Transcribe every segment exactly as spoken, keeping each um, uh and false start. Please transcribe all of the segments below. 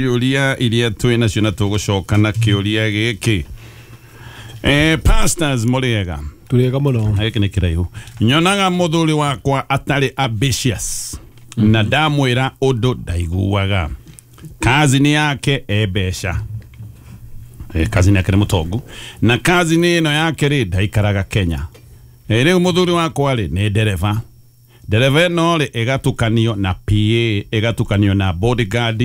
Ciũria iria twĩ nacio na tũgũcoka na kĩũria gĩkĩ. Eh, pastors, mũrĩega? Tũrĩega mũno. Gĩkĩ nĩ kĩraihu. Nyonaga mũthuri wakwa atarĩ ambitious na ndamwĩra ũndũ ndaiguaga. Kazini yake e mbeca. E, kazini yake nĩ mũtongu na kazini ĩno yake rĩ, ndaikaraga Kenya. E, rĩu mũthuri wakwa rĩ, nĩ ndereba. Ndereba ĩno rĩ, ĩgatukanio na P A, ĩgatukanio na bodyguard,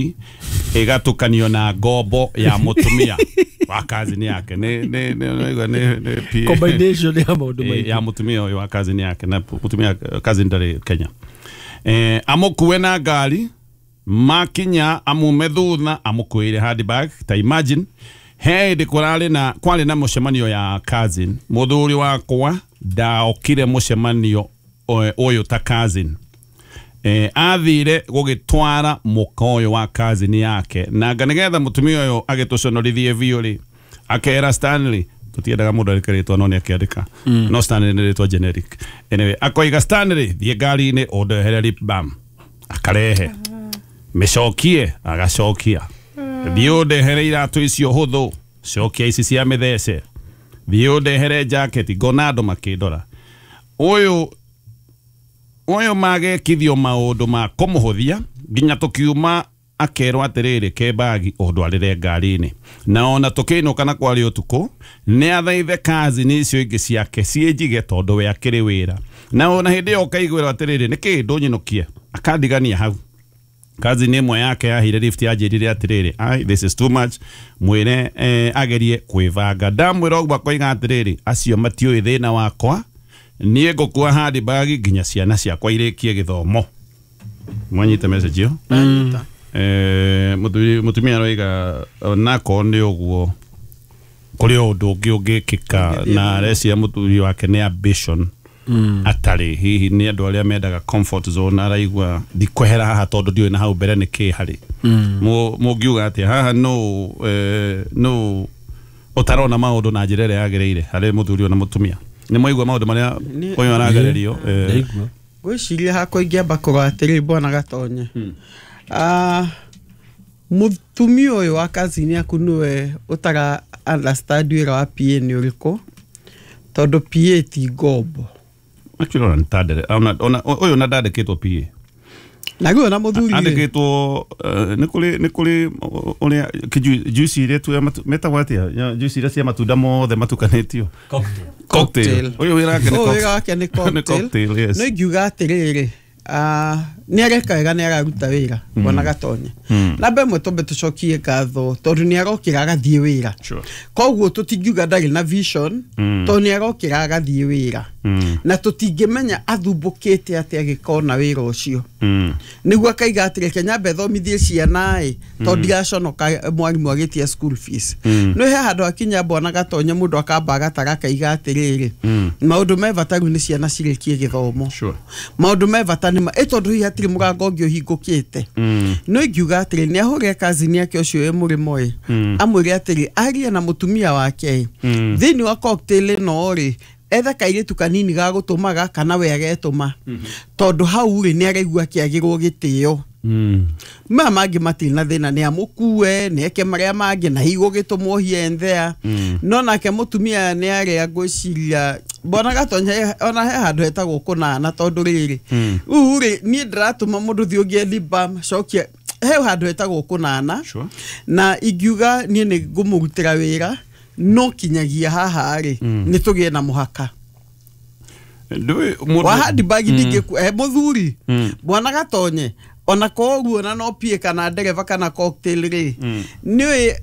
ĩgatukanio na ngombo ya mũtumia wa kazini yake. nĩ nĩ nĩ nĩ nĩ P A Combination ya maũndũ Eh, maingĩ. Ya mutumia ũyũ wa kazini yake, na mutumia kazini ndarĩ Kenya. eh, amũkue na ngari, makinya amume thutha amũkuĩire handbag. Ta imagine, he hĩndĩ kũrarĩ na kwarĩ na mũcemanio ya cousin, mũthuri wakwa ndaokire mũcemanio ũyũ ũyũ ta cousin. eh, athire gũgĩtwara mũka ũyũ wa cousin yake, na nga nĩgetha mũtumia ũyũ agĩtũconorithie biũ rĩ, akera Stanley, tũtiendaga mũndũ andĩke rĩtwa, no nĩ akĩandĩka, no Stanley nĩ rĩtwa generic anyway. Akoiga, "Stanley, thiĩ ngari-inĩ ũndehere lip balm." Akarehe, mĩcokie, agacokia. "Thiĩ ũndehere iratũ icio hũthũ." Cokia ici cia mĩthece. "Thiĩ ũndehere jacket." Ngona andũ makĩndora. Ũyũ ũyũ magekithio maũndũ ma kũmũhũthia nginya tũkiuma akerwo atĩrĩrĩ, ke bagi ũndwarĩre ngari-inĩ. Na ona tũkĩinũka na kwarĩ ũtukũ, nĩ athaithe kazini icio ingĩ ciake ciĩnjige tondũ we akĩrĩ wĩra. Na ona hĩndĩ ĩyo ũkaiguĩrwo atĩrĩrĩ, nĩkĩ ndũnyinũkie, akandigania hau. Kazini ĩmwe yake yahire lift, yanjĩrire atĩrĩrĩ, "Ai, this is too much, mwĩre eh, agerie kwĩbanga." Ndamwĩra ũguo akoiga atĩrĩrĩ, acio matiũĩ thĩna wakwa, niĩ ngũkua handbag nginya ciana ciakwa irĩkie gĩthomo. Mwanyita message ĩyo? Eh, mũthuri mũtumia aroiga onakorwo nĩ ũguo, kũrĩ o ũndũ ũngĩ ũngĩkĩka, na arecia mũthuri wake nĩ ambition atarĩ. Hihi nĩ andũ arĩa mendaga comfort zone, araigua ndikwehera haha tondũ ndiũĩ na hau mbere nĩ kĩ harĩ. Mũ- mũngiuga atĩa haha? No eh, no ũtarona maũndũ na njĩra ĩrĩa yagĩrĩire harĩ mũthuri na mũtumia? Nĩ mwaigua maũndũ marĩa Nĩ- ũyũ aragererio eh, Ndaigua. Ngwĩciria hakwa ingĩamba kũrora atĩrĩrĩ, bwana Gatonye, Ah, mũtumia ũyũ wa kazini yaku nĩwe ũtara understand wĩra wa P A nĩ ũrĩkũ, tondũ P A ti ngombo. Actually, ona nĩtandere ona ona ũyũ na ndandĩkĩtwo P A. Na rĩu ona mũthuri rĩ, Andĩkĩtwo eh, nĩ kũrĩ nĩ kũrĩ ũrĩa kĩju- juice iria tu metagwo atĩa? Ya, juice iria cia matunda mothe matukanĩtio. Cocktail. Ũyũ wĩra wake nĩ Ũyũ cocktail. wĩra wake nĩ Nĩ cocktail. cocktail, yes. No ingiuga atĩrĩrĩ, ah, nĩ areka wega, nĩ araruta wĩra, bwana Gatonye. Namba ĩmwe, twambe tũcokie ngatho tondũ nĩ arokĩra agathiĩ wĩra. Sure. Koguo tũtingiuga ndarĩ na vision, tondũ nĩ arokĩra agathiĩ wĩra, Mm. na tũtingĩmenya athumbũkĩte atĩa agĩkona wĩra ũcio, Mm. nĩguo akaiga atĩ reke nyambe thomithie ciana ĩ, tondũ ndigaconoka mwarimũ agĩtia school fees. No he handũ hakinya, bwana Gatonye, mũndũ akamba agatara akaiga atĩrĩrĩ, maũndũ me bata rĩu nĩ ciana cirĩkie gĩthomo. Sure. Maũndũ me bata nĩ ma ĩ, tondũ hihi hatirĩ mũrango ũngĩ ũhingũkĩte. No ingiuga atĩrĩ, nĩ ahũre kazini yake ũcio wĩ mũrĩmo ĩ, amwĩre atĩrĩ, arie na mũtumia wake ĩ, thĩinĩ wa cocktail ĩno rĩ, ethe kairĩtu kanini ga gũtũmaga kana we agetũma, tondũ hau rĩ, nĩ araigua akĩagĩrwo gĩtĩo. Mm. Maya mangĩ matirĩ na thĩna, nĩ amũkue, nĩ eke marĩa mangĩ na hihi gũgĩtũmwo here and there. No nake mũtumia nĩ arĩa ngwĩciria, bwana Gatonye, ona he handũ hetagwo kũnana, tondũ rĩrĩ, rĩu rĩ, niĩ ndĩratũma mũndũ thiĩ ũngĩ libam cokia, he handũ hetagwo kũnana. Sure. Na ingiuga niĩ nĩ ngũmũrutĩra wĩra, no kinyagia haha rĩ, nĩ tũgĩe na mũhaka Ndũĩ mũndũ- wa handbag ndingĩku he mũthuri, bwana Gatonye. Ona koguo na no pie kana ndereba kana cocktail rĩ, nĩũĩ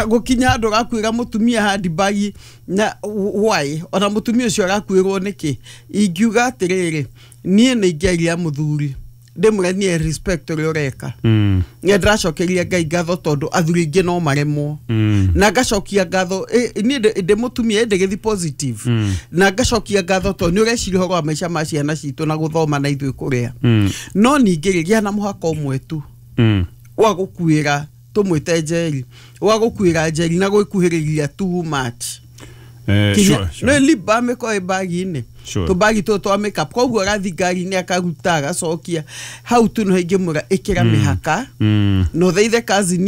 gũkinya handũ ũrakuĩra mũtumia handbag na why? Ona mũtumia ũcio arakuĩrwo nĩkĩ? Ingiuga atĩrĩrĩ, niĩ nĩ ingĩaria mũthuri ndĩmwĩre niĩ respect ũrĩa ũreka. Mm. Nĩ ndĩracokeria Ngai ngatho tondũ athuri aingĩ no maremwo. Mm. Na ngacokia ngatho ĩ- niĩ ndĩ ndĩ mũtumia ĩndĩ gĩthi positive, na ngacokia ngatho tondũ nĩ ũreciria ũhoro wa maica ma ciana citũ na gũthoma na ithuĩ kũrĩa. Mm. No ningĩ rĩ, gĩa na mũhaka ũmwe tu Mm. wa gũkuĩra, tũmwĩte Njeri, wa gũkuĩra Njeri na gwĩkuhĩrĩria too much. Eh, Kinya- sure, sure. No liba mĩko ĩ bagi-inĩ, Sure. tũbagi tũtũ twa makeup, koguo agathiĩ ngari-inĩ akaruta agacokia hau tu. No ingĩmwĩra ĩkĩra mĩhaka Mm. na ũthaithe kazini.